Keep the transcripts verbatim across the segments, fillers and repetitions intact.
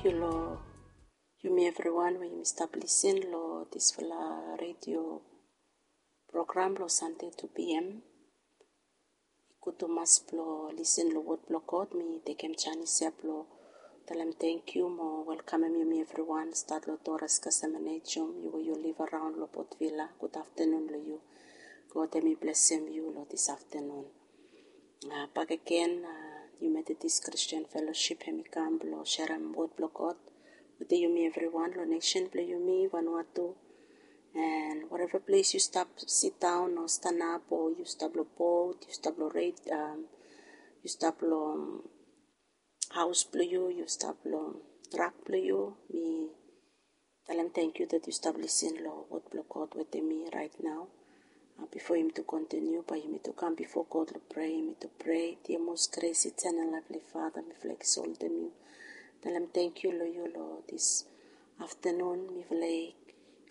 Yu long yumi evriwan we yumi stap lisin long disfala redio program long Sande two p.m. I gud tumas blong lisin long wod blong God. Mi tekem janis ya blong talem tangkiu mo welkamem yumi evriwan stat long Doras Kasemenejum, yu we yu liv araon long Port Vila. Gud aftanun long yu. God hemi blesem yu long dis aftanun. Bakegen, yu Methodist Christian Fellowship hemi kam blong serem wod blong God wetem yumi evriwan long nesen blong yumi Vanuatu. And whatever ples yu stap sidaon o stanap o yu stap long bot, yu stap long red, yu stap long haos blong yu, yu stap long trak blong yu, mi talem tangkiu dat yu stap lisin long wod blong God wetem mi raet nao. Bifo yumi tu kontiniu, bae yumi tu kam bifo God long prea, yumi tu prea. Dia mos gres itenal laefli Fada, mifala i eksoltem yu. Talem tangkiu long yu long dis aftanun. Mifala i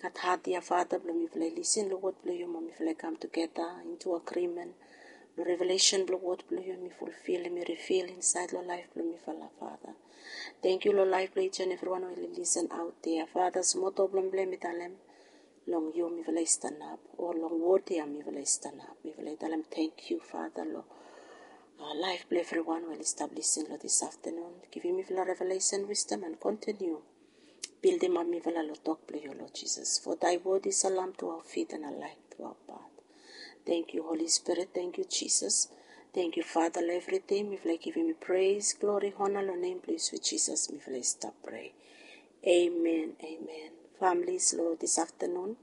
gat hat ya Fada blong mifala i lisin long wod blong yu mo mifala i kam tugeta into agreement long revelation blong wod blong yu hemi fulfil, hemi rifil insaed long laef blong mifala Fada. Tangkiu long laef blong each and evriwan we oli lisin aot dea Fada. Smol tok blong mifala mi talem long yu mifala i stanap, o long wod ya mifala i stanap. Mifala i talem tangkiu Fada long laef blong evriwan we oli stap lisin long dis aftanun. Givim mifala revelation, wisdom and kontiniu bildimap mifala long tok blong yu Lord Jesus. For thy word is a lamp to our feet and a light to our path. Tangkiu Holi Spirit, tangkiu Jisas. Tangkiu Fada long evriting. Mifala i givim yu pres, glori, hona long nem blong yu swit Jisas mifala i stap prea. Amen, amen. Familis, long dis aftanun